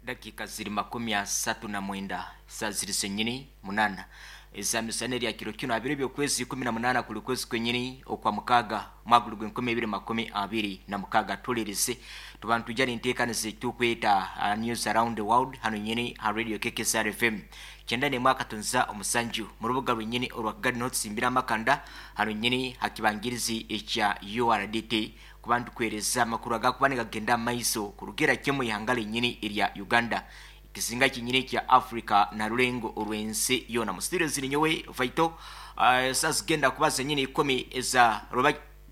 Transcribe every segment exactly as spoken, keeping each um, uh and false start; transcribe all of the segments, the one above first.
Dakika ziri makumi asatu na mwenda saa ziri zenyini munana ezamisana erya kiro kino abiri by'okwezi ikumi na munana kuli kwezi kwenyini okwa mukaga mwaka guli gw'enkumi ibiri makumi abiri na mukaga. Tulirize tuba ntujja nenteekaniza ekitukweta uh, News Around the World hano nyini ha Radio K K S R F M kyenda n'emwe akatunza omusanju mu rubuga lwenyini orwa Kigali, niho tusimbira amakanda hano nyini hakibangirizi ekya U R D T kuba ntukwereza amakuru agakuba nigagenda maiso kurugera kimwe ihanga lenyini erya Uganda, ekizinga kinyini kya Africa na rulengo orw'ensi yona. Mu studio ziri nyowe Vaito. uh, saa zigenda kuba zenyini ikumi eza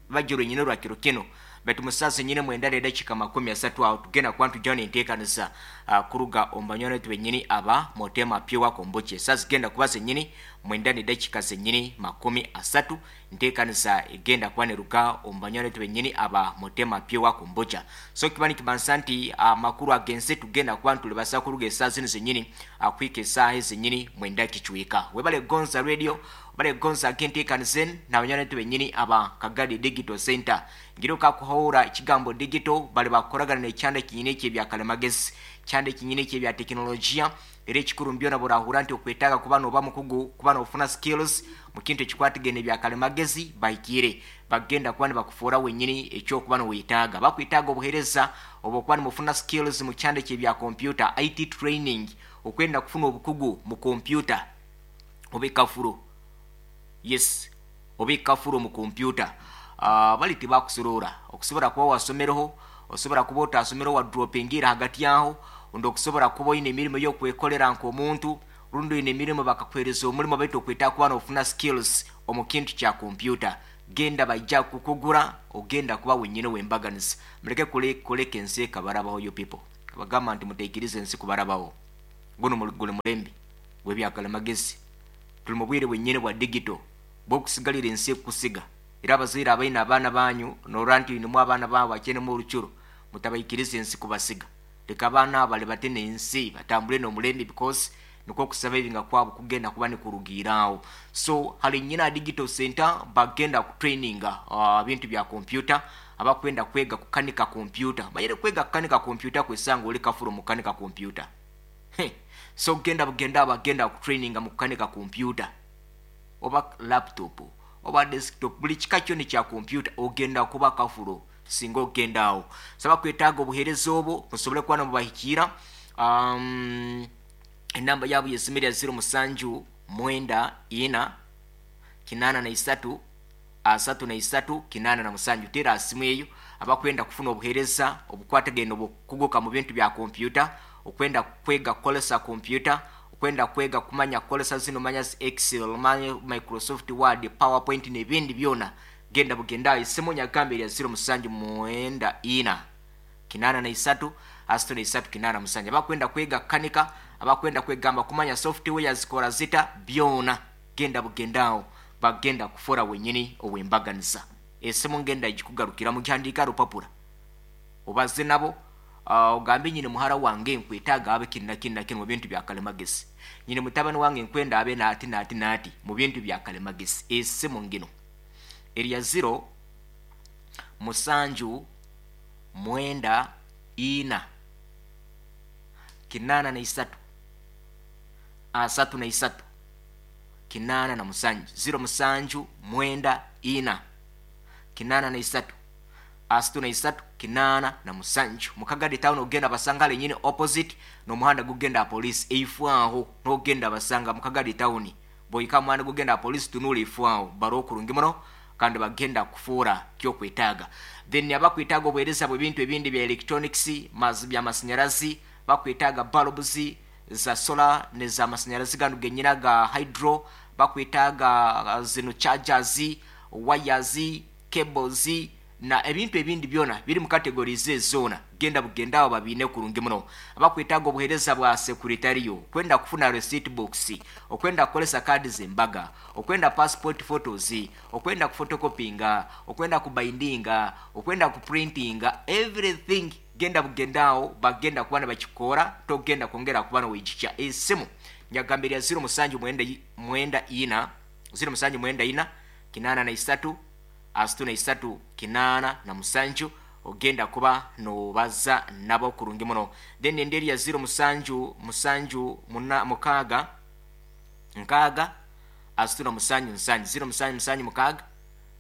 bajjo lwenyini olwa kiro kino, baitu musaa zenyini mwenda nedakika makumi asatu awo tugenda kuba ntujjaho nenteekaniza uh, kuruga omu banywani baitu benyini aba Motema Pure Kombucha. Saa zigenda kuba zenyini mwenda nedakika zenyini makumi asatu, nteekaniza egenda kuba neruga omu banywani baitu benyini aba Motema Pure Kombucha. So kiba nikimanisa nti amakuru uh, agensi tugenda kuba ntulibasa kuruga esaaha zino zenyini uh, kwika esaaha ezenyini mwenda kicweka. Webale gonza radio, webale gonza agenteekaniza enu n'abanywani baitu benyini aba Kagadi Digital Center. Ngira okakuhawura ekigambo digital, bali bakukoragana n'ekyanda kinyini ekyebya kalimagezi, kyanda ekinyini ekyebya tekinologiya. Era ekikuru mbyona burahura nti okwetaaga kuba noba mukugu, kuba nofuna skills mu kintu ekikwatagene ebya kalimagezi, bahikire bagenda kuba nibakufuura wenyini ekyokuba niwetaaga. Bakwetaaga obuheereza oba okuba nimufuna skills mu kyanda ekyebya computer, I T training, okwenda kufuna obukugu mu computer oba ekafuro, yes, oba ekafuro mu computer. uh, bali tibakusorora, okusobola kuba wasomereho, osobola kuba otasomereho, wadropingira hagati aho, ondi okusobola kuba oyina emirimu ey'okwekolera nk'omuntu, rundi oyina emirimu bakakuhereza omulimu, baitu okwetaaga kuba nofuna skills omu kintu kya kompyuta, genda bajja kukugura, ogenda kuba wenyini wembaganiza. Muleke kuleka ensi ekabarabaho. You people, bagamba nti muteikiriza ensi kubarabaho. Guno guli mulembe gw'ebyakalimagezi, tuli mu bwire bwennyini bwa digital bwokusigalira ensi ekusiga. Era abazaire abaina abaana banyu, norora nti nimu abaana baabo bakyenemu orucuro, mutabaikiriza ensi kubasiga. Leka abaana abo bali bate n'ensi, batambule n'omulembe, because nikwo okusaba ebinga kwabo kugenda kuba nikurugiiraawo. So hali nyina digital center bagenda kutraininga uh, bintu bya kompyuta. Abakwenda kwega kukanika kompyuta, manyire kwega kukanika kompyuta kwesanga oli kafuro mukanika kompyuta. So genda bugenda, bagenda kutraininga mu kukanika kompyuta oba laptop oba desktop, buli kika kyona kya kompyuta, ogenda kuba kafuro singa ogenda awo. Saba kwetaaga obuheereza obwo, musobole kuba nomubahikiira. um, enamba yaabo yesimu erya zero musanju mwenda ina kinaana na isatu asatu na isatu kinaana na musanju. Teera asimu eyo abakwenda kufuna obuheereza obukwatagene obukuguka mu bintu bya kompyuta, okwenda kwega kukolesa kompyuta, okwenda kwega kumanya kukolesa zino manya Excel, manya Microsoft Word, PowerPoint n'ebindi byona. Genda bugenda, esimu nyagamba erya zero musanju mwenda ina kinaana na isatu asatu na isatu kinaana musanju. Abakwenda kwega kukanika, abakwenda kwegamba kumanya software zikora zita, byona genda bugendaawo, bagenda kufora wenyini owembaganiza. Esimu ngenda gikugarukira, mugihandika rupapura, obaze nabo, uh, ogambe nyine muhara wange nkwetaaga abe kini na kini na kini mu bintu bya kalimagezi, nyine mutabani wange nkwenda abe naati naati naati mu bintu bya kalimagezi. Esimu ngino erya zero musanju mwenda ina kinaana na isatu asatu na isatu kinaana na musanju, zero musanju mwenda ina kinaana na isatu asatu na isatu kinaana na musanju. Mukagadi Town ogenda basanga lenyini opposite n'omuhanda gugenda police eifwaho, n'ogenda basanga Mukagadi Town. Boyika muhanda gugenda police, tunula eifwaho, baro okurungi muno kandi bagenda kufuura kyokwetaaga. Then abakwetaaga obuheereza bw'ebintu ebindi bya electronics, bya masanyarazi, bakwetaaga bulbs za solar neza masanyarazi gano genyina ga hydro, bakwetaaga zino chargers, wires, cables na ebintu ebindi byona biri mu categories ezona, genda bugenda awo babiine kurungi muno. Abakwetaaga obuheereza bwa secretarial, okwenda kufuna receipt box, okwenda kukolesa kaadi z'embaga, okwenda passport photos, okwenda kufotocopinga, okwenda kubindinga, okwenda kuprintinga, everything, genda bugenda awo, bagenda kuba nibakikora, togenda kwongera kuba noweijikya. Esimu nyagambirya zero musanju mwenda mwenda ina zero musanju mwenda ina kinaana na isatu asatu na isatu kinaana na musanju. Ogenda kuba nobaza nabo kurungi muno. Then enderi ya zero musanju musanju muna mukaaga nkaaga asatu na musanju nsanju, zero musanju musanju mukaaga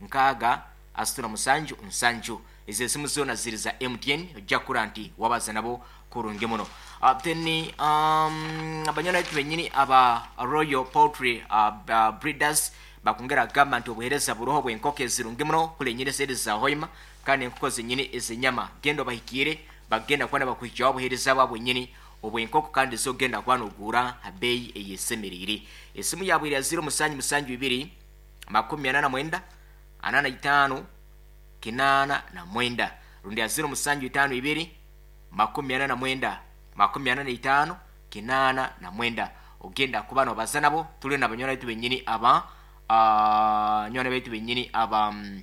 nkaaga asatu na musanju nsanju. Ezo esimu zoona ziri za M T N, ojja kukura nti wabaza nabo kurungi muno. Uh, then um, abanywana baitu bennyini aba Royal Poultry uh, uh, Breeders bakongera agamba nti obuheereza buroho bw'enkoko ezirungi muno kule nyini seri za hoima kandi enkoko zenyini ez'enyama. Genda obahikiire, bagenda kuba nibakuhikyaho obuheereza bwabo bwennyini obw'enkoko kandi zogenda kuba noogura ha bbeeyi eyesemeriire. Esimu yaabwe eri ya zero musanju musanju ibiri makumi ana na mwenda ana na itaano kinaana na mwenda, rundi ya zero musanju itaano ibiri makumi ana na mwenda makumi ana na itaano kinaana na mwenda. Ogenda kuba nobaza nabo. Tuli n'abanywana baitu bennyini aba uh, nywana baitu bennyini aba um,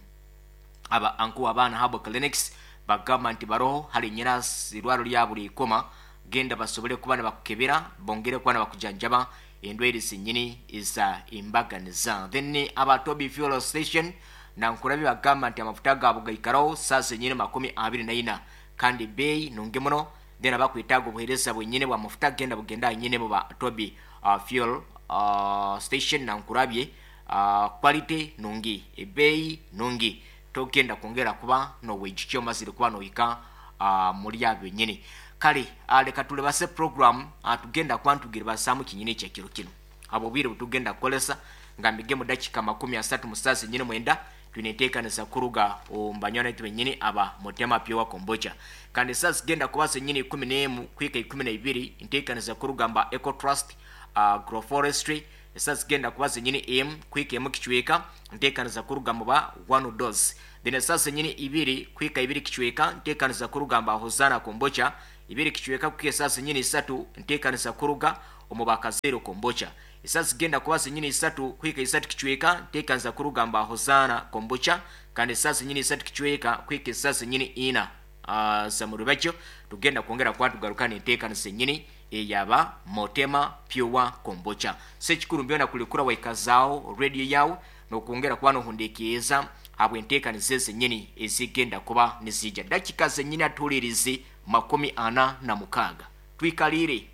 aba anku abaana habo clinics bagamba nti baroho hali nyina irwaro lya buli ikoma, genda basobole kuba nibakukebera bongere kuba nibakujanjaba endwaire zenyini eza embaganiza. Then aba Toby Fuel Station nankurabi bagamba nti amafuta gaabo gaikaraho saa zenyini makumi abiri na ina kandi bei nungi muno. Then abakwetaaga obuheereza bwenyini bwa mafuta genda bugenda nyine mu ba Toby uh, Fuel uh, Station nankurabye uh, quality nungi, ebeeyi nungi, togenda kwongera kuba noweijukya omazire kuba nohika uh, muri abo benyini. Kale uh, leka tulebase program uh, tugenda kuba ntugiribasaamu kinyini ekyekiro kino abo obwire butugenda kukolesa nga mbige mu dakika makumi asatu mu saa zenyini mwenda tuneteekanisa kuruga omu banywana baitu bennyini aba Mutema Pure Kombucha. Kandi saa zigenda kuba zenyini ikumi n'emu kwika ikumi na ibiri nteekanisa kuruga mba Eco Trust uh, Agroforestry. Saa zigenda kuba zenyini emu kwika emu kicweka nteekanisa kuruga mu ba One Dose. Then saa zenyini ibiri kwika ibiri kicweka nteekanisa kuruga mba Hosana Kombucha ibiri kicweka kuka saa zenyini isatu nteekanisa kuruga omu ba Kazero Kombucha. Saa zigenda kuba zenyini isatu kwika isatu kicweka nteekanisa kuruga mba Hosana Kombucha kandi saa zenyini isatu kicweka kwika saa zenyini ina uh, za murubakyo tugenda kwongera kuba tugaruka n'enteekanisa ennyini eyaba Mutema Pure Kombucha. Sekikuru mbyona kulikura waikazaawo radio yawe n'okwongera kuba nohundekeeza habw'enteekaniza ezennyini ezigenda kuba nizijja. Dakika zennyini atuulirize makumi ana na mukaaga twikalire.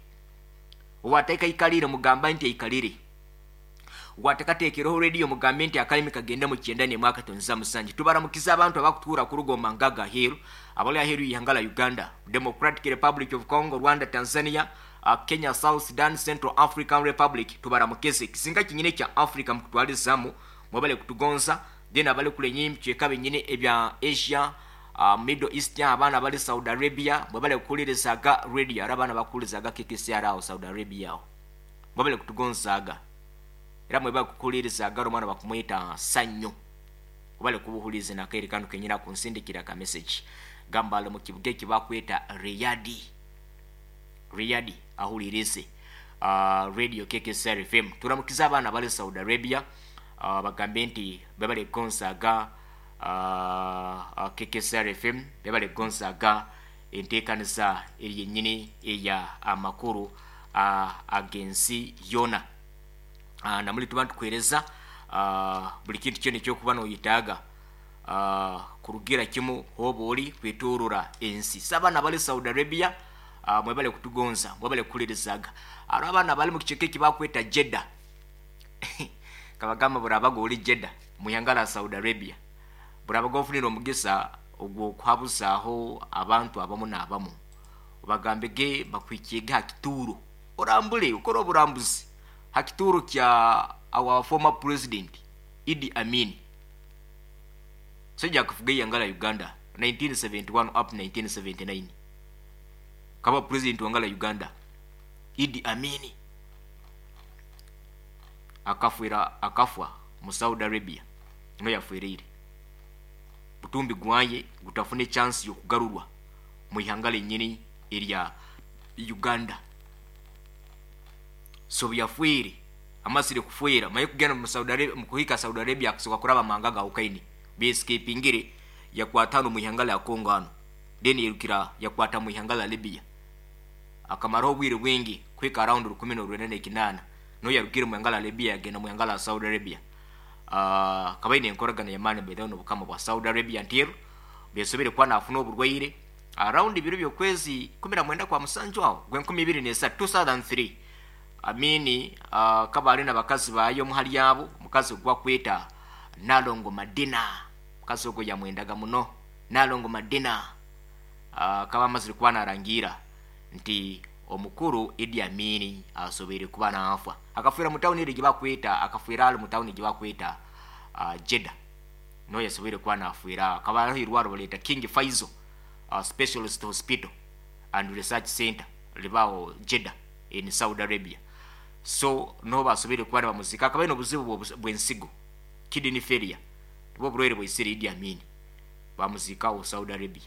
Owateeka ikalire mugamba nti eikalire, watekateekereho radio mugambe nti akalimi kagende mu kyenda n'emwaka tonza musanju. Tubaramukiza abantu abakutuura kurugoma ngaga aheeru abali aheeru y'ihanga la Uganda, Democratic Republic of Congo, Rwanda, Tanzania, uh, Kenya, South Sudan, Central African Republic. Tubaramukize kisinga kinyine kya Africa mukutwalizamu mwebale kutugonza. Then abali kule nyimbi kyeka benyini ebya Asia, uh, Middle East, abaana abali Saudi Arabia mwebale kukulirizaga radio, era abaana bakukulirizaga K K C R awo Saudi Arabia awo mwebale kutugonzaaga era mwebale kukulirizaga omwana bakumwita Sanyo mwebale kubuhuliza nakaire kanu kenyina kunsindikira ka message gamba ali mu kibuga eki bakweta Riyadh. Riyadh ahulirize uh, radio K K C R F M. Turamukiza abaana abali Saudi Arabia uh, bagambe nti bebale kugonzaaga uh, uh, K K C R F M, bebale kugonzaaga enteekanisa eri yennyini eya amakuru uh, ag'ensi yona. Uh, namuli tuba ntukuheereza uh, buli kintu kyona ekyokuba noyetaaga uh, kurugira kimu hoba oli kwetoorora ensi. So abaana abali Saudi Arabia uh, mwebale kutugonza, mwebale kukulirizaaga. Hariho abaana abali mu kicweka eki bakweta Jeddah kabagamba burabaga oli Jeddah mu ihanga la Saudi Arabia burabaga ofunire omugisa ogw'okuhabuzaaho abantu abamu n'abamu obagambege bakwikiege ha kituuro orambule okore oburambuzi ha kituuro kya our former president Idi Amin sajja kufuga ihanga la Uganda nineteen seventy-one up nineteen seventy-nine kaba president wanga la Uganda Idi Amin akafwira akafwa mu Saudi Arabia no yafwereire butumbi gwaye gutafune chance yokugarurwa mu ihanga lennyini erya Uganda. So byafwire amasire kufwera maye kugenda mu Saudi Arabia mu kuhika Saudi Arabia akusoka kuraba manga ga ukaini bescapingire yakwatano mu ihanga la Congo ano then yerukira yakwata mu ihanga la Libya akamaro obwire bwingi kwika around rukumi n'orwenda n'ekinana no yarukire mu ihanga la Libya yagenda mu ihanga la Saudi Arabia. Uh, kabaine enkoragana yamani bedha n'obukama bwa Saudi Arabia ntiru Besobere kuba nafuna oburwaire around biro byokwezi kumi na mwenda kwa musanju aho gwenkumi ibiri nesatu two thousand three. Amini uh, kabali n'abakazi bayo muhali yabo, omukazi ogwa kweta Nalongo Madina, mukazi ogwo yamwendaga muno Nalongo Madina. uh, kaba amazire kuba narangira nti omukuru Idi Amini asobere kuba nafa, akafwira mu town eri gyebakweta, akafwira ali mu town gyebakweta uh, Jeddah, no yasobere kuba nafwira. Akaba hariho irwaro baleta King Faisal uh, Specialist Hospital and Research Center libawo Jeddah in Saudi Arabia. So no basobere kuba bamuzika. Akaba n'obuzibu bw'ensigo, kidney failure, nibwo burwaire bwaisire Idi Amini, bamuzikawo Saudi Arabia.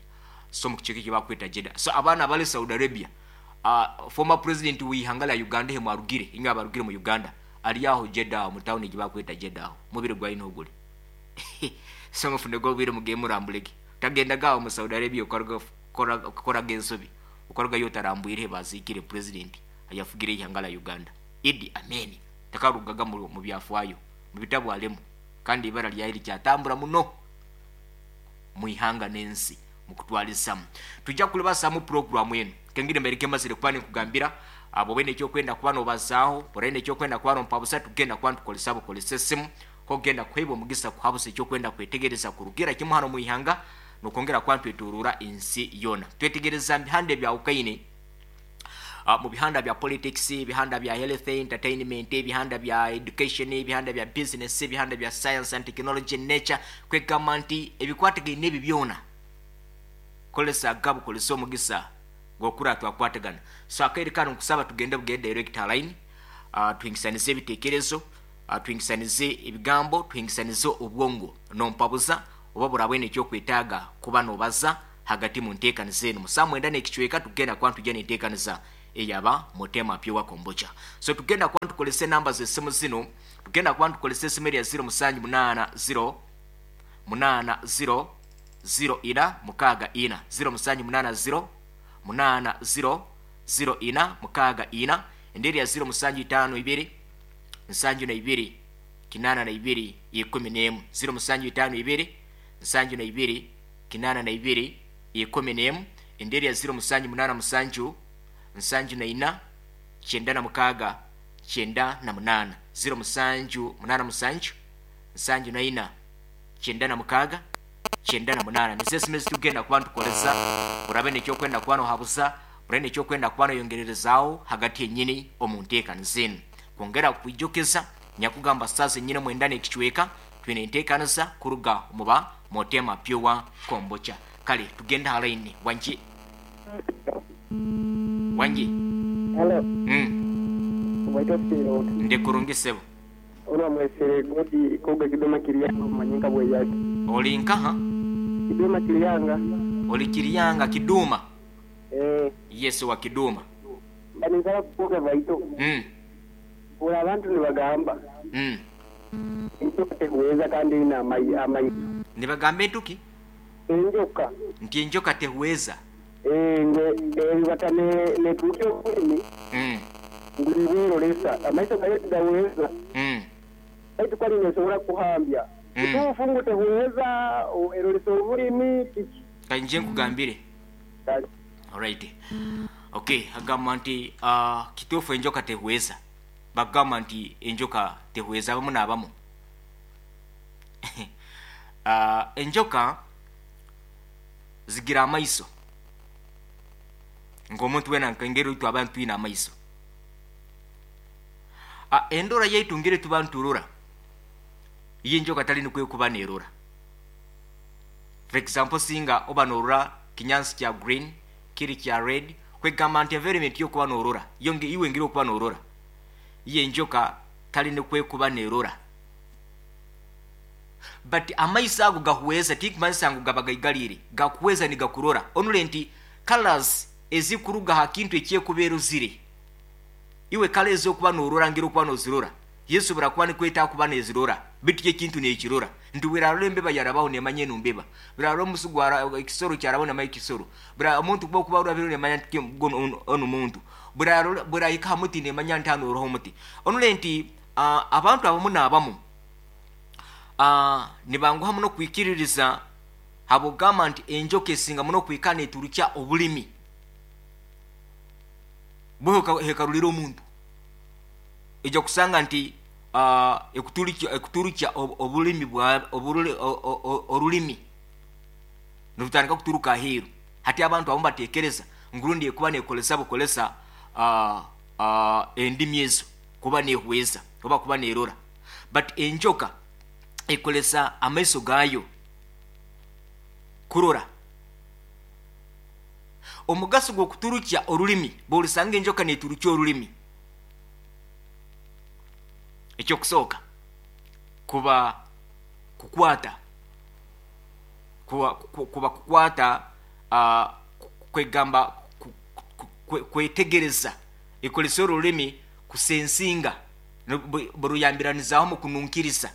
So mu kicheke kyebakweta Jeddah. So abaana abali Saudi Arabia, uh, former president w'ihanga lya Uganda he mwarugire inga abarugire mu Uganda ali aho Jeddah mu town gyebakweta Jeddah, mubiri gwa ino ogule. So mufune go bwire mugiye murambulege tagenda gawo mu Saudi Arabia ukora gensobi ukora yo tarambwire bazikire president ayafugire ihanga la Uganda Idi Amini takarugaga mu byafwayo mu bitabo alemu, kandi ibara lya iri kyatambura muno mu ihanga n'ensi mukutwalisamu. Tujja kulibasa mu program eno kengire mbere kemazire kuba nkugambira abo bene cyo kwenda kuba no bazaho borene cyo kwenda kuba no mpabusa tugenda kuba tukolesa bukolesa simu ko genda kwebo mugisa kuhabusa cyo kwenda kwetegereza kurugira kimwe hano mu ihanga nokongera kwa tweturura ensi yona. Twetegereza bihande bya ukaine uh, mu bihanda bya politics, bihanda bya health entertainment, bihanda bya education, bihanda bya business, bihanda bya science and technology, nature, kwegamba nti ebikwatagaine ebi byona kolesa gabu kolesa omugisa gokura twakwatagana. So akaire kano nkusaba tugende bugende direct line, uh, tuhingisanize ebitekerezo, uh, tuhingisanize ebigambo, tuhingisanize obwongo nompabuza oba burabwene ekyo kwetaaga kuba nobaza hagati mu nteekaniza eno. Musaa mwenda n'ekicweka tugenda kuba ntujja n'enteekaniza eyaba Mutema Pure Kombucha. So tugenda kuba tukolesa enamba z'essimu zino, tugenda kuba tukolesa essimu erya zero musanju munaana zero munaana zero zero ina mukaaga ina, zero musanju munaana zero munaana zero zero ina mukaaga ina, enderi ya zero musanju itaano ibiri nsanju na ibiri kinana na ibiri ikumi n'emu, zero musanju itaano ibiri nsanju na ibiri kinana na ibiri ikumi n'emu, enderi ya zero musanju munaana musanju nsanju na ina kyenda na mukaaga kyenda na munaana, zero musanju munaana musanju nsanju na ina kyenda na mukaaga kyenda na munaana. Nizo esimu ezitugenda kuba ntukolesa orabe nekyokwenda kuba nohabuza, orabe nekyokwenda kuba noyongererezaawo hagati yennyini omu nteekaniza eno. Kwongera kwijjukiza nyakugamba saaza ennyini mwenda n'ekicweka twine enteekaniza kuruga muba Mutema Pure Kombucha. Kale tugenda halaini wangi wangi. Hello. Mm. Waitosiro. Ndikurungisebo. Ona mwesere godi koga kidoma kiriyanga manyinga bwe yake. Oli nkaha? Kidoma kiriyanga. Oli kiriyanga kiduma. Eh. Yesu wa kiduma. Banizala kukoga baito. Mm. Ora abantu nibagamba. Mm. Enjoka tehuweza kandi ina amai amai. Nibagamba entuki? Enjoka. Nti enjoka tehuweza. Eh nge eh batane ne tukyo kuni. Mm. Ngulibiro lesa amaiso gayo gaweza. Mm. Baitu kwali nesobora kuhambya. Mm. Tufungu tehuweza erolesa obulimi kiki. Kanje nkugambire. All right. Okay, agamba nti uh, kituufu enjoka tehuweza. Bagamba nti enjoka tehuweza abamu n'abamu. uh, enjoka zigira amaiso. Ng'omuntu wena nkengeri oitu abantu twine amaiso. Uh, endora yaitu ngeri tuba nturora. Iyo enjoka tali nikwe kuba nerora. For example, singa oba norora kinyansi kya green, kiri kya red, kwegamba nti environment yokuba norora. Yonge iwe ngiri okuba norora. Iyo enjoka tali nikwe kuba nerora. But amaiso ago gahuweza, tikumanyisa ngu gaba gaigalire, gakuweza nigakurora. Onule nti colors ezikuruga ha kintu ekyekubeera ozire. Iwe kale ezokuba norora ngeri okuba nozirora. Yesu burakuba nikweta kuba nezirora. Bitu ekintu nekirora. Nti bwirarora embeba yarabaho nemanya eno mbeba. Bwirarora omusu gwara ekisoro kyarabaho nemanya ekisoro. Bwira omuntu kuba okuba orabire nemanya nti ono muntu. Bwirarora bwirahika ha muti nemanya nti hano oroho omuti. Onule nti uh, abantu abamu n'abamu uh, nibanguha muno kwikiririza Habwokugamba nti enjoka esinga muno kwikana neturukya obulimi bwe hekarulira omuntu, ejja kusanga nti uh, ekuturukya ekuturukya obulimi bwa orulimi nirutandika kuturuka aheeru. Hati abantu abamu batekereza ngurundi ekuba nekolesa bukolesa uh, uh, endimi ezo kuba nehweza oba kuba nerora, but enjoka ekolesa amaiso gayo kurora. Omugaso gw'okuturukya orulimi, bw'olisanga enjoka neturukya orulimi, ekyokusooka kuba kukwata kuba, kuba kukwata uh, kwegamba kwetegereza, ekolesa orulimi kusensinga, buruyambiranizaho mu kununkiriza.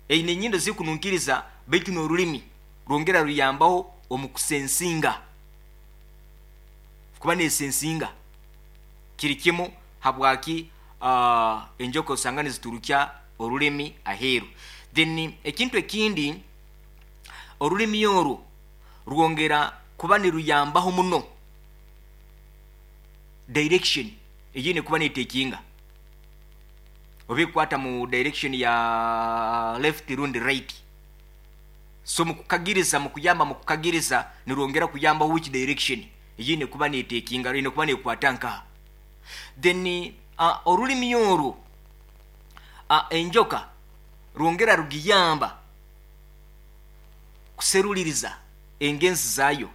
Eine enyindo zikununkiriza, baitu n'orulimi rwongera ruyambaho omu kusensinga, kuba nesensinga kiri kimu. Habwaki uh, enjoka osanga niziturukya orulimi aheeru. Then ekintu ekindi, orulimi orwo rwongera kuba niruyambaho muno direction eyine kuba netekinga, oba ekwata mu direction ya left rundi right. So mukukagiriza, mukuyamba mukukagiriza, nirwongera kuyamba which direction eyine kuba netekinga, ine kuba nekwata nkaha. Then uh, orulimi orwo uh, enjoka rwongera rugiyamba kuseruliriza engenzi zayo.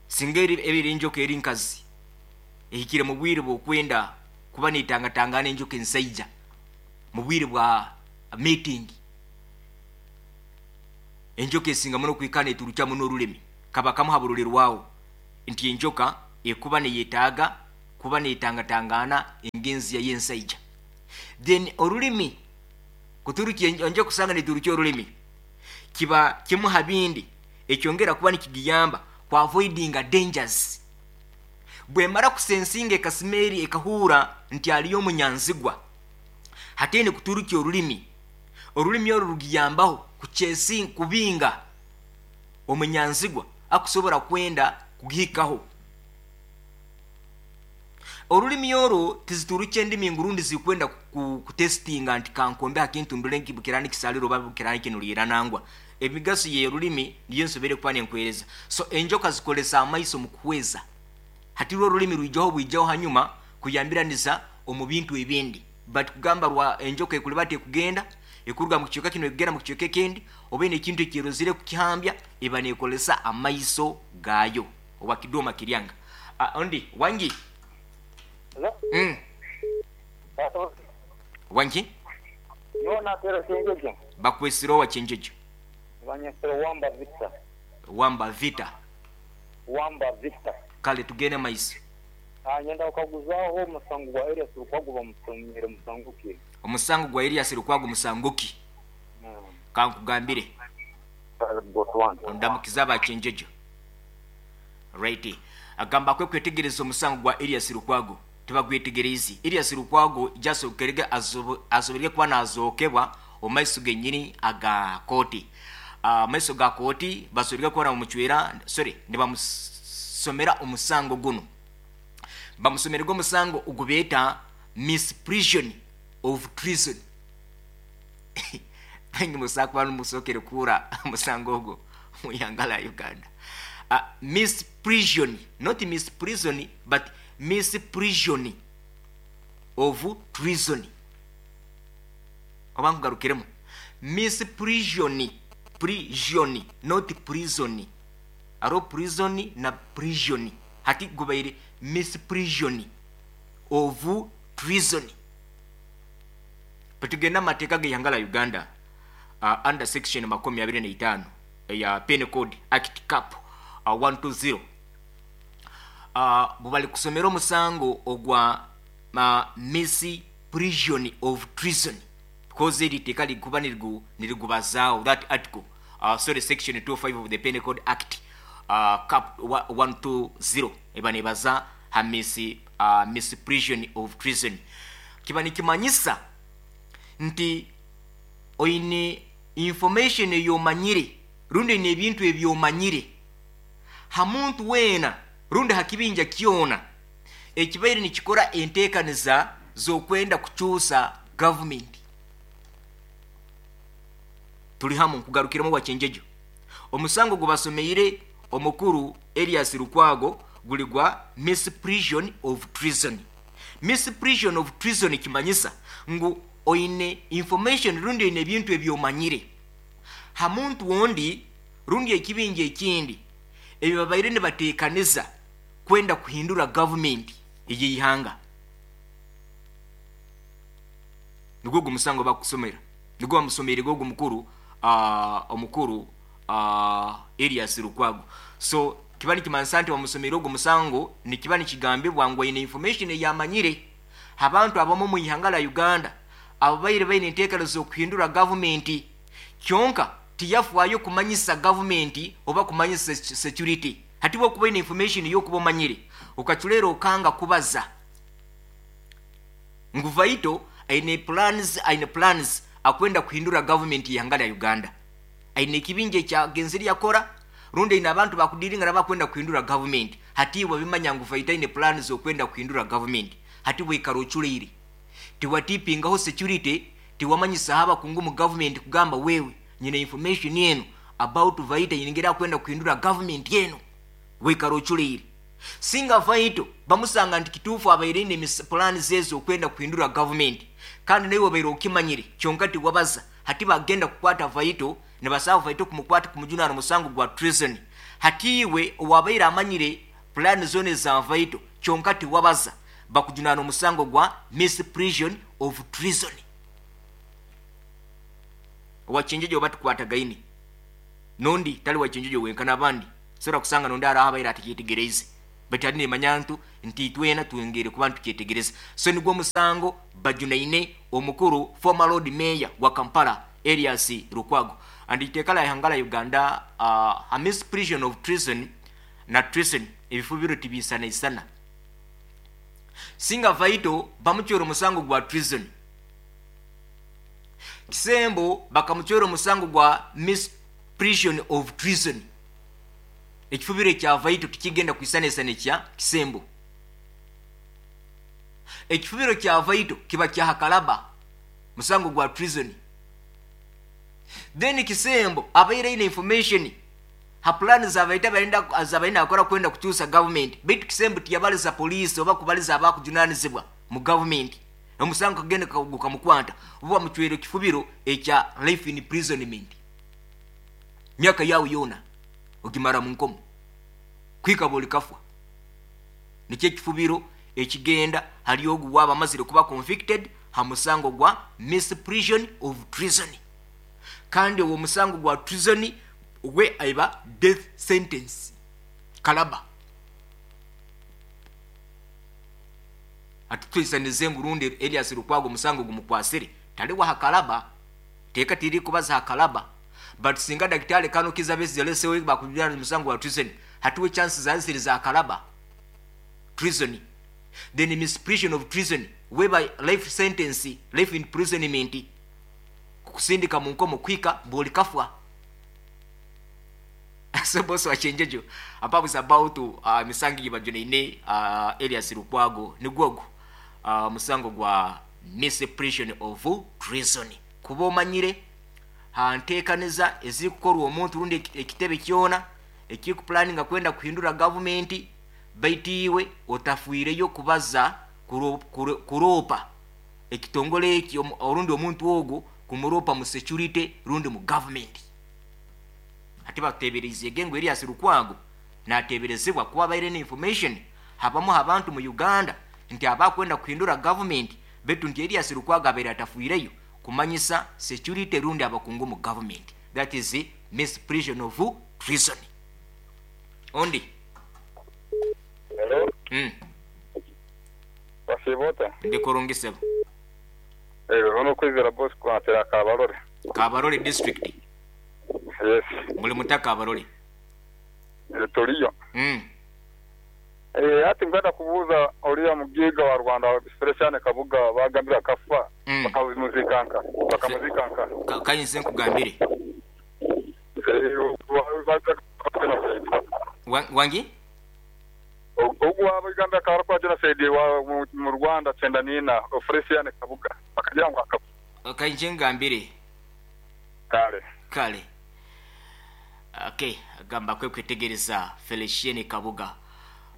Singa ebiri enjoka eri nkazi ehikire mu bwire bw'okwenda kuba netangatangana enjoka ensaija mu bwire bwa meeting, enjoka esinga muno kwikana eturukya muno orulimi. Kaba kamu habururirwaho nti enjoka ekuba neyetaaga kuba netangatangana engenzi ya yensaija. Then orulimi kuturukya enjoka kusanga neturukya orulimi kiba kimu habindi ekyongera kuba nikigiyamba ku avoidinga dangers. Bwemara kusensinga ekasimeri ekahura nti aliyo omunyanzigwa, hatene kuturukya orulimi, orulimi orwo rugiyambaho kuchesi kubinga omunyanzigwa akusobora kwenda kugihikaho. Orulimi orwo tiziturukye endimi ngurundi zikwenda kutestinga nti kankombe akintu ndule nkibukirani kisaliro oba bukirani kinulira nangwa. Emigaso ye rulimi niyo nsobere kuba nenkwereza. So enjoka zikolesa amaiso mu kuhweza, hati rwo orulimi rwijaho bwijaho hanyuma kuyambiraniza omu bintu ebindi. But kugamba rwa enjoka ekuliba tekugenda ekuruga mu kichweka kino ekugenda mu kichweka ekindi, oba ine ekintu ekirozire kukihambya, eba nekolesa amaiso gayo oba kidoma kiryanga. Uh, ondi wangi mm. Wangi yona tera chenjejo bakwesiro wa chenjejo banyesero wamba vita wamba vita wamba vita. Kale tugende maiso. Ah, nyenda ukaguzaho musango gwa Elias Lukwago bamusomere musanguki. Omusango gwa Elias Lukwago musanguki. Mm. Kankugambire ndamukiza abachenjejo. Right, agamba kwe kwetegereza omusango gwa Elias Lukwago tibagwetegerezi. Elias Lukwago jasokerege asoberege kuba nazokebwa omaiso genyini aga koti. Uh, maiso ga koti basoberege kuba bamuchwera, sorry, nibamusomera omusango guno, bamusomerege omusango ogubeta misprision of treason. Bengi musaka musokere kura musango ogwo mu yangala Uganda. Uh, misprision, not misprison, but misprision of treason. Oba nkugarukiremu misprision, prison, not prison. Aro prison na prison hati gubaire misprision of treason. Patugenda mateeka g'eihanga Uganda uh, under section makumi abiri na itaano ya Penal Code Act Cap uh, one two zero. Uh, bubali kusomera omusango ogwa uh, misprision of treason, because eri teeka likuba nirigu nirigubazaawo that article uh, sorry section two five of the Penal Code Act uh, Cap one two zero eba nebaza ha mis, uh, misprision of treason. Kiba nikimanyisa nti oine Information eyomanyire rundi n'ebintu ebyomanyire ha muntu weena rundi ha kibinja kyona ekibaire nikikora enteekaniza z'okwenda kukyusa gavumenti. Tuli hamu? Nkugarukiremu, Wakyenjejo. Omusango gubasomeire omukuru Erias Lukwago guli gwa misprision of treason. Misprision of treason kimanyisa ngu oine information rundi oine ebintu ebyomanyire ha muntu wondi rundi ekibinja ekindi ebyo babaire nibateekaniza kwenda kuhindura gavumenti ey'eihanga. Nigwo gwo musango bakusomera, nigwo bamusomeire gogo mukuru uh, omukuru uh, Erias Lukwago. So kiba nikimanisa nti bamusomeire ogwo musango, nikiba nikigambibwa ngu aine information eyamanyire abantu abamu mu ihanga la Uganda ababaire baine enteekaniza okuhindura gavumenti, kyonka tiyafaayo kumanyisa gavumenti oba kumanyisa security. Hati bwokuba ine information yokuba omanyire okaculera okanga kubaza ngu Vaito aine plans aine plans akwenda kuhindura gavumenti y'ihanga lya Uganda, aine ekibinja ekyagenzere yakora rundi aine abantu bakudiringa nabakwenda kuhindura gavumenti. Hati iwe bimanya ngu Vaito aine plans okwenda kuhindura gavumenti, hati bwikara oculeire, tiwatipingaho security, tiwamanyisa abakungu mu gavumenti kugamba wewe nyina information yenu about Vaito yingira kwenda kuhindura gavumenti yenu, wikara oculeire. Singa Vaito bamusanga nti kituufu abaire ine plani zezo okwenda kuhindura gavumenti kandi nawe wabaire okimanyire kyonka tiwabaza, hati bagenda kukwata Vaito nibasaba Vaito kumukwata kumujunana musango gwa treason. Hati iwe owabaire amanyire plani zone za Vaito kyonka tiwabaza, bakujunana omusango gwa misprision of treason. Wachinjejo batukwatagaine nondi tali wachinjejo wenka n'abandi sora kusanga nondi araha abaire atikyetegereze, but ali nemanyantu nti twena twengere kuba ntukyetegereza. So nigwo musango bajunaine omukuru former Lord Mayor wa Kampala Erias Lukwago. And iteeka la ihanga la Uganda, uh, a misprision of treason na treason ebifubiro tibisanaisana. Singa Vaito bamuchwera omusango gwa treason, Kisembo bakamuchwera omusango gwa misprision of treason, ekifubiro ekya Vaito tikigenda kwisanisana ekya Kisembo. Ekifubiro kya Vaito kiba kya hakalaba, musango gwa treason. Then Kisembo abaire ine information ha plan za Vaito abaenda zabaina akora kwenda kukyusa government, baitu Kisembo tiyabaliza police oba kubaliza abakujunanizibwa mu government, omusango kagenda gukamukwata oba muchwere kifubiro ekya life in imprisonment, myaka yawe yona ogimara mu nkomo kwika boli kafwa. Nikyo ekifubiro ekigenda hali ogu waba amazire kuba convicted ha musango gwa misprision of treason. Kandi uwo musango gwa treason we aiba death sentence kalaba. Atutwisanize ngurundi Elias Lukwago musango gumukwasire tali wa hakalaba, teka tiri kubaza hakalaba, but singa daktari kano kiza besi zelesewe bakujana musango wa treason, hatuwe chances za ziri za kalaba treason. Then misprision of treason whereby life sentence, life imprisonment, kusindika mu nkomo kwika boli kafwa. So boss wa chenjejo apapo is about uh, misangi bajune uh, Elias Lukwago nigwogo uh, musango gwa misprision of treason. Kuba omanyire hanteekaniza ezikukorwa omuntu rundi ekitebe kyona ekikuplanninga kwenda kuhindura gavumenti, baitu iwe otafuireyo kubaza kuropa ekitongole eki orundi omuntu ogwo kumuropa mu security rundi mu government. Ati batebereze gengo Elias Lukwago nateberezebwa kuba baire ne information habamu abantu mu Uganda nti abakwenda kuhindura government, betu nti Elias Lukwago abaire atafuireyo kumanyisa security rundi abakungu mu government. That is the misprision of treason. Ondi. Hello. Mm. Wasibota. Ndikurungisebo. Eh, ono kwizera boss kwatera Kabarole. Kabarole district. Yes. Muli mutaka Kabarole. Toriyo. Mm. Eh, ati ngada kubuza oliya mugiga wa Rwanda Felician Kabuga bagambira kafa. Mm. Mm. Bakamuzikanka bakamuzikanka. Ka- kayinze nkugambire. Eh, wa- wa- genocide. Wa- wangi Ogu waba Uganda akaba genocide wa mu- mu Rwanda cyenda nina Felician Kabuga bakagira ngo akaba kayinze ngambire. Kale. Kale, okay, agamba kwe kwetegereza Felicien Kabuga,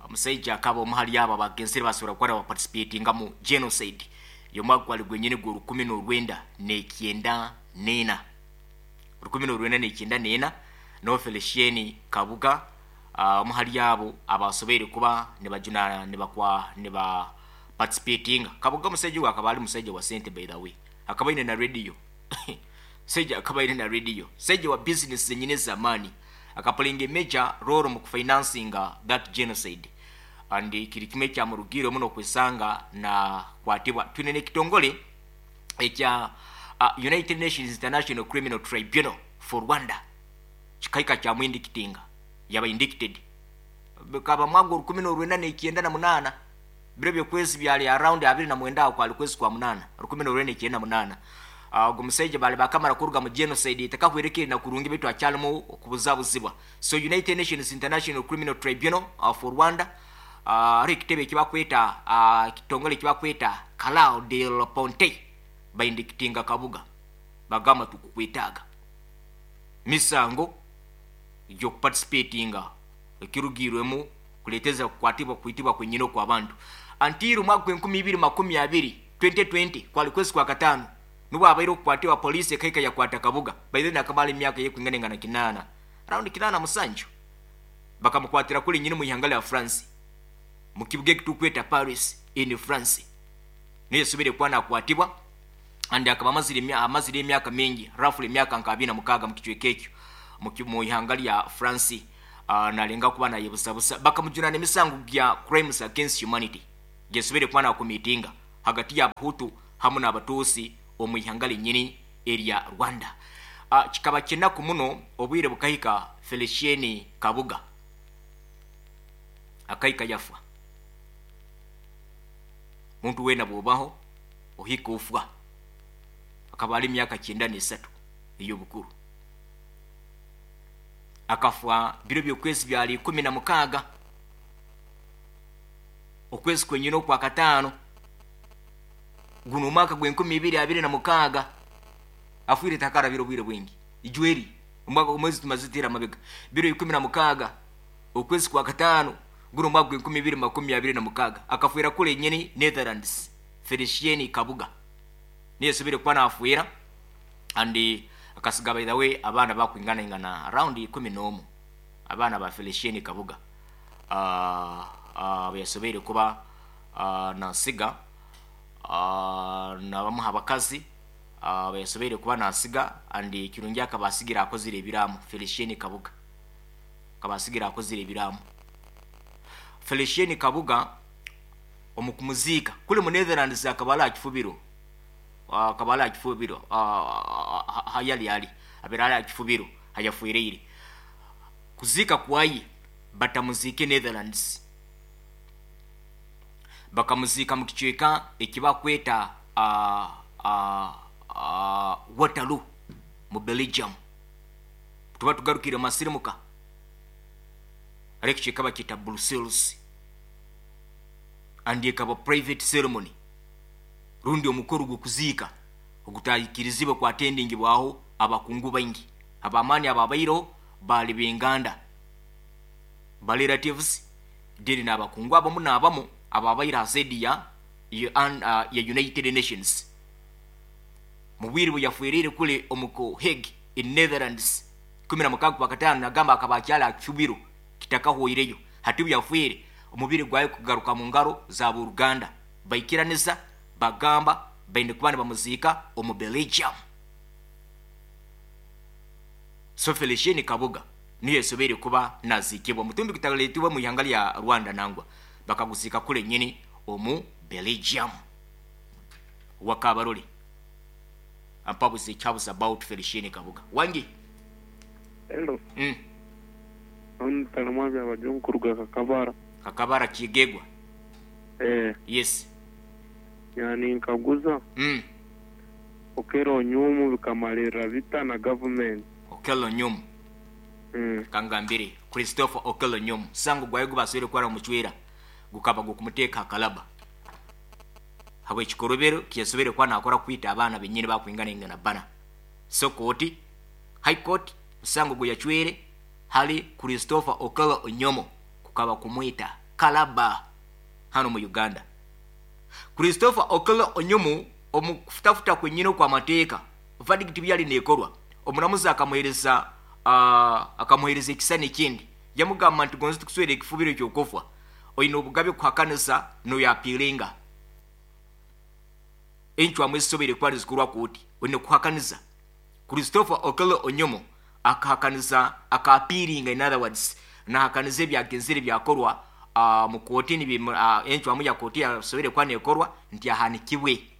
omusajja akaba omuhali abo abagenzere basobora kuba baparticipatinga mu genocide y'omwaka gwali gwenyini gwe rukumi n'orwenda n'ekyenda n'ena, rukumi n'orwenda n'ekyenda n'ena. No Felicien Kabuga, ah, omuhali abo abasoboire kuba nibajuna nibakwa niba participatinga. Kabuga omusajja ogu akaba ali musajja wa sente, by the way, akaba aine na radio. Sajja akaba aine na radio, sajja wa business zenyini z'amaani, akaplayinga major role mu kufinancinga that genocide, and kiri kimwe kyamurugire muno kwesanga na kwatibwa. Twine n'ekitongole ekya uh, United Nations International Criminal Tribunal for Rwanda, kikaika kyamwindikitinga, yaba indicted bikaba mwaka rukumi n'orwenda n'ekyenda na munaana, biro byokwezi byali around abiri na mwenda, aho kwali kwezi kwa munaana rukumi n'orwenda n'ekyenda munaana. Ah, ogwo musajja bali bakamara kuruga mu genocide etakahwerekere na kurungi, baitu akyalimu okubuzabuzibwa. So United Nations International Criminal Tribunal uh, for Rwanda, uh, ari ekitebe ekibakweta, uh, ekitongole ekibakweta Calao del Ponte, baindikitinga Kabuga, bagamba tukukwetaaga misango gyokuparticipatinga ekirugirwemu kuleteza kukwatibwa kuitibwa kwenyine okwabantu until omwaka gwenkumi ibiri makumi abiri, twenty twenty, kwali kwezi kwa kataano, nubwo abaire okukwatibwa. Poliisi ekaika yakwata Kabuga. By then akamala emyaka yekwinganengana kinaana, around kinaana musanju. Bakamukwatira kuli nyini mu ihanga lya France, mu kibuga ekitukweta Paris in France, niyo yasobere kuba nakwatibwa, and akaba amazire emya- amazire emyaka mingi, roughly emyaka nka abiri na mukaaga mu kicweka ekyo mu ki- mu ihanga lya France, uh, nalenga kuba nayebusabusa. Bakamujunana emisango gya crimes against humanity gyesobere kuba nakumitinga hagati y'Abahutu hamu n'Abatuusi omu ihanga lyenyini erya Rwanda. uh, kikaba kinaku muno, obwire bukahika Felicien Kabuga akahika yafa. Muntu wena bwobaho ohika ofwa. Akaba ali emyaka kyenda n'esatu ey'obukuru. Akafa biro byokwezi byali ikumi na mukaaga, okwezi kwenyine okwa kataano, guno omwaka gw'enkumi ibiri abiri na mukaaga. Afwire takarabira obwire bwingi ijweri, omwaka omwezi tumazitira amabega, biro ikumi na mukaaga okwezi kwa kataano, guno omwaka gw'enkumi ibiri makumi abiri na mukaaga. Akafwira kule nyini Netherlands. Felicien Kabuga niye subire kuba naafwira, and akasiga, by the way, abaana bakwinganaingana around ikumi n'omu, abaana ba Felicien Kabuga, uh, uh, beyasobeire kuba uh, nasiga, uh, nabamuha abakazi, uh, beyasobeire kuba nasiga, and kirungi akaba asigira akozire ebiraamo. Felicien Kabuga akaba asigira akozire ebiraamo. Felicien Kabuga omu kumuziika kuli mu Netherlands, akaba ali akifubiro, akaba ali akifubiro hayali ali abeera ali akifubiro hayafuireire. Kuziika kwaye batamuziike Netherlands, bakamuziika mu kicweka ekibakweta uh, uh, uh, Waterloo mu Belgium. Tuba tugarukire masirimuka, ari ekicweka bakiyita Brussels, and ekaba private ceremony, rundi omukoro gw'okuziika ogutayikirizibwe kwatendingibwaho abakungu baingi abamaani ababaireho, baali benganda, ba relatives, then n'abakungu abamu n'abamu ababaire ha side ya, ya, uh, ya United Nations. Mu bwire bwe yafuirire kule omuko Hague in Netherlands kumi na mukaaga kwa kataano, nagamba akaba akyali akifubiro kitakahwoireyo. Hati bwe yafuire, omubiri gwayo kugaruka mu ngaro za buruganda, baikiraniza, bagamba baine kuba nibamuziika omu Belgium. So Felicien Kabuga niyo esobeire kuba naziikibwa, mutumbi gutaleetibwa mu ihanga lya Rwanda, nangwa bakaguziika kule nyini omu Belgium. Wakabarole ampabuze ekyabuze about Felicien Kabuga wangi. Hello. mm. Ono talamwabya abajungu kuruga Kakabara. Kakabara kigegwa. Eh, yes yani nkaguza mm. Okello Onyum bikamalirra bita na government. Okello Onyum. Mm. Kangambire Christopher Okello Onyum sango gwaye gubasoire kwara muchwera gukaba gukumuteeka akalaba habwe ekikorobero kiyasobere kuba nakora kwita abaana benyini bakwingana ingana bana. So kooti High Court musango gwe yachwere hali Christopher Okello Onyomo kukaba kumwita kalaba hano mu Uganda. Christopher Okello Onyomo omukufutafuta kwenyini kwa mateeka verdict byali nekorwa omulamuzi akamuhereza uh, akamuhereza ekisani ekindi yamugamba nti gonzi tukuswera ekifubiro ekyokufa oyina obugabe kuhakanisa noyapiringa enchwa ezisobere kuba nizikorwa kooti oyina kuhakaniza. Christopher Okello Onyomo akahakaniza akapiringa, in other words nahakaniza ebyagenzere byakorwa uh, mu kooti uh, enchwamu ya kooti yasobere kuba nekorwa nti ahanikibwe.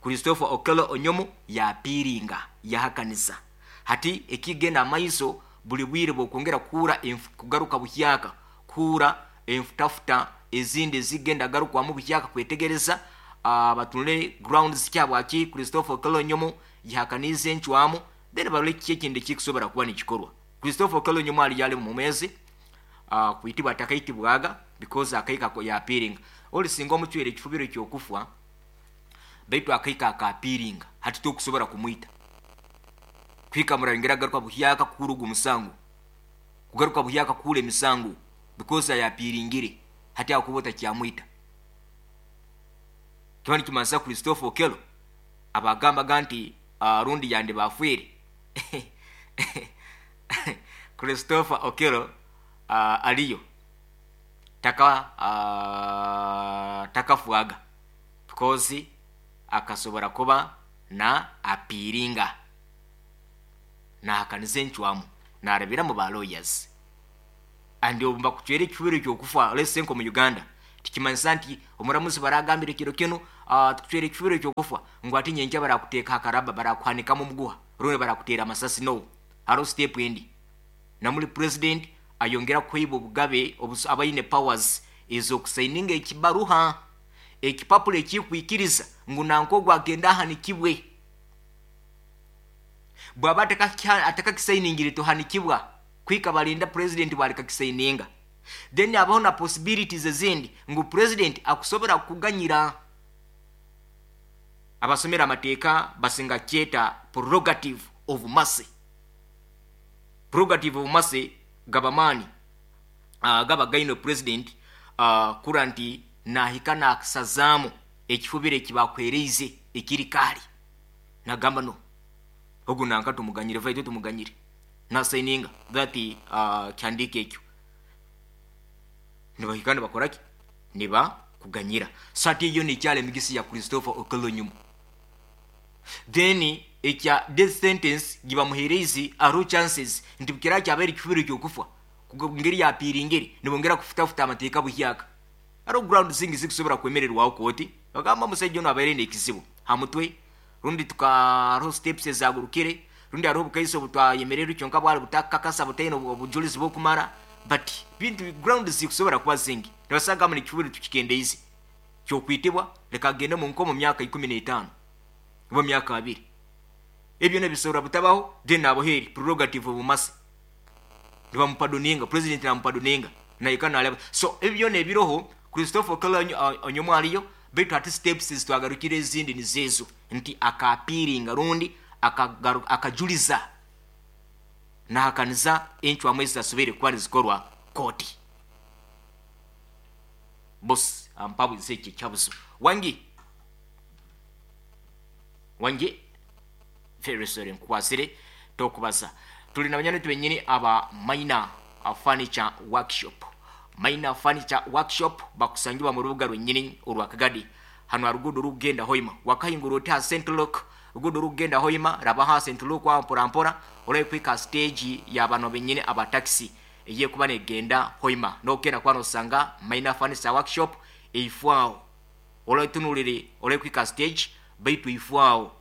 Christopher Okello Onyomo yapiringa yahakaniza. Hati ekigenda amaiso buli bwire bwokwongera kuura kugaruka buhyaka kuura enfutafuta ezindi zigenda garukwamu buhyaka kwetegereza uh, batunule grounds kyabwaki Christopher Okello Onyomo yahakaniza enchwamu then barole kiki ekindi ekikusobora kuba nikikorwa. Christopher Okello Onyomo ali yali mu mwezi uh, kuitibwa atakaitibwaga because akaika yapiringa oli singa omuchwere ekifubiro ekyokufa baitu akaika akapiringa hati tokusobora kumwita kwika murangera garuka buhyaka kurugu musango kugaruka buhyaka kule misango because ayapiringire hati akubota kyamwita. Kiwani kimansa Christopher Okello abagamba ganti uh, rundi yande bafwire Christopher Okello uh, aliyo taka uh, takafuaga because akasobora kuba na apiringa nahakaniza enchwamu narabira mu ba lawyers andi obumba kuchwera ekifubiro ekyokufa let's say nko mu Uganda tikimanyisa nti omuramuzi baragambire kiro kino uh, tukuchwera ekifubiro ekyokufa ngu ati nyenkya barakuteeka akaraba barakuhanikamu omuguha rundi barakutera amasasi. No, hariho step endi namuli president ayongera kuhaiba obugabe abaine powers ezokusaininga ekibaruha ekipapuro ekikwikiriza ngu nanko gwagenda ahanikibwe bwaba atakakisainingire tohanikibwa kwika balinda president bwalikakisaininga. Then abaho na possibilities ezindi ngu president akusobora kuganyira abasomera amateeka basinga kyeta prerogative of mercy. Prerogative of mercy gabamani uh, gaba gaino president uh, kura nti nahika nakusazaamu ekifubiro ekibakwereize ekiri kaali nagamba no ogu nanka tumuganyire vaito tumuganyire nasaininga that uh, kyandike ekyo nibahika nibakoraki niba kuganyira. Sati iyo nikyala emigisi ya Christopher Okello Onyum. Then ekya death sentence gibamuhereize aro chances nti bukira kyabere ekifubiro ekyokufa ngeri yapiringere nibongera kufutafuta amateeka buhyaka aro ground zingi zikusobora kwemererwaho kooti bagamba omusajja ono abaire nekizibu hamutwe rundi tukaro steps ezagurukire rundi hariho obukaiso obutwayemererwe kyonka bwali butakakasa butaine obujulizi bwokumara but bintu ground zikusobora kuba zingi nibasanga mu ekifubiro tukikendeize kyokwitibwa leka agende mu nkomo myaka ikumi n'etaano oba myaka abiri ebyo nebisobora butabaho. Then aboheri prerogative of mercy nibamupadoninga president namupadoninga naika naleba. So ebyo nebiroho Christopher Okello Onyomo aliyo baitu ati steps zitwagarukire ezindi nizezo nti akapiringa rundi akajuliza nahakaniza enchwamu ezitasubire kuba nizikorwa kooti. Boss ampabuze ekyo ekyabuzo wangi wangi very sorry nkukwasire tokubaza. Tuli na banyani benyini aba Minor Furniture Workshop. Minor Furniture Workshop bakusangibwa mu rubuga lwennyini olwa Kagadi hano arugudo rugenda Hoima wakahingura oti ha Saint Luke rugudo rugenda Hoima raba ha Saint Luke wa mpora mpora olakwika stage ya bano benyini aba taxi eye kuba negenda Hoima nokenda kwano osanga Minor Furniture Workshop eifwao olatunulire olakwika stage baitu ifwao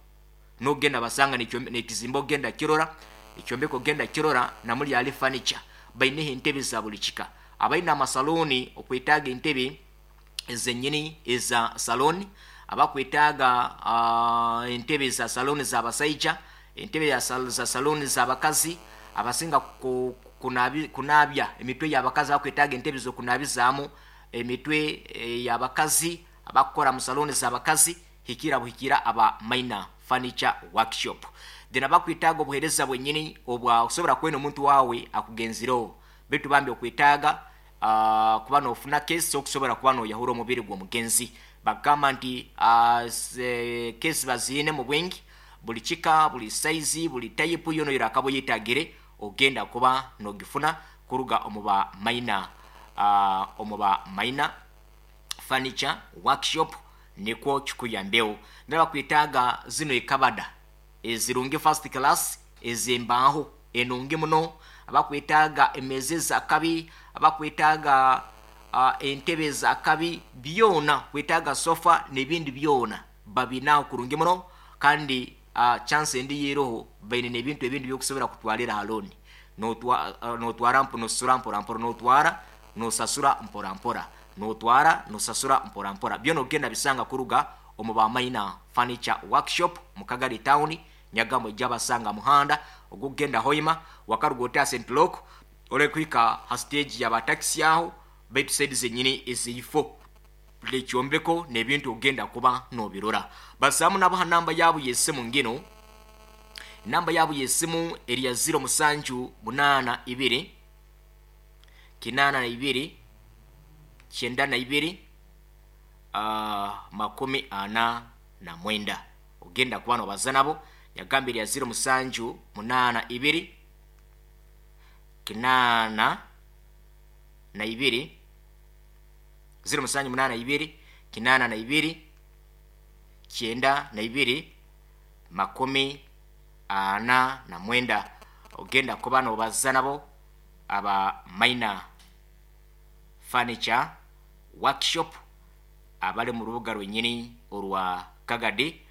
nogenda basanga nekizimbo ogenda kirora ekyombeko genda kirora namuli ali furniture baineho entebe za buli kika abaina amasaloni okwetaaga entebe ezenyini eza saloni Abakwetaaga uh, entebe za saloni z'abasaija, entebe ya sal- za saloni z'abakazi, abasinga ku- kunabi- kunabya emitwe y'abakazi, abakwetaaga entebe z'okunabizaamu emitwe eh, y'abakazi, abakukora mu saloni z'abakazi, hikira buhikira aba Minor Furniture Workshop. Then abakwetaaga obuheereza bwenyini obwa osobola kwena omuntu waawe akugenzireho, bitu bambi okwetaaga uh, kuba nofuna kesi okusobola kuba noyahura omubiri gw'omugenzi, bagamba nti uh, kesi baziine mu bwingi, buli kika, buli saizi, buli tayipu yono yorakaba oyetagire, ogenda kuba nogifuna kuruga omu ba Minor uh, omu ba Minor Furniture Workshop, nikwo kikuyambeho. Ndaba kwetaaga zino ekabada ezirungi, first class, ez'embaaho enungi muno, abakwetaaga emeza ezakabi, abakwetaaga uh, entebe ezakabi, byona kwetaaga sofa n'ebindi byona babinaho kurungi muno. Kandi uh, chance endi yeroho, baine n'ebintu ebindi byokusobora kutwalira ha loan, notwara uh, notwara mpo nosasura mpora mpora, notwara nosasura mpora mpora, notwara nosasura mpora mpora, byona ogenda bisanga kuruga omu ba Minor Furniture Workshop mu Kagari Town, Nyagambo, ejabasanga muhanda ogugenda Hoima, wakaruga ota Saint Lok, olekuhika ha stage yaba taxi aho, baitu side zenyini ezifo lekyombeko n'ebintu ogenda kuba nobirora. Basamu nabo ha namba yabo y'essimu ngino. Namba yabo y'essimu eri ya ziro musanju munaana ibiri kinaana na ibiri kyenda na ibiri uh, makumi ana na mwenda. Ogenda kuba nobaza nabo. Yagamba eri ya ziro musanju munaana ibiri kinaana na ibiri, ziro musanju munaana ibiri kinaana na ibiri kyenda na ibiri makumi ana na mwenda. Ogenda kuba nobaza nabo aba Minor Furniture Workshop abali mu rubuga rwenyini orwa Kagadi.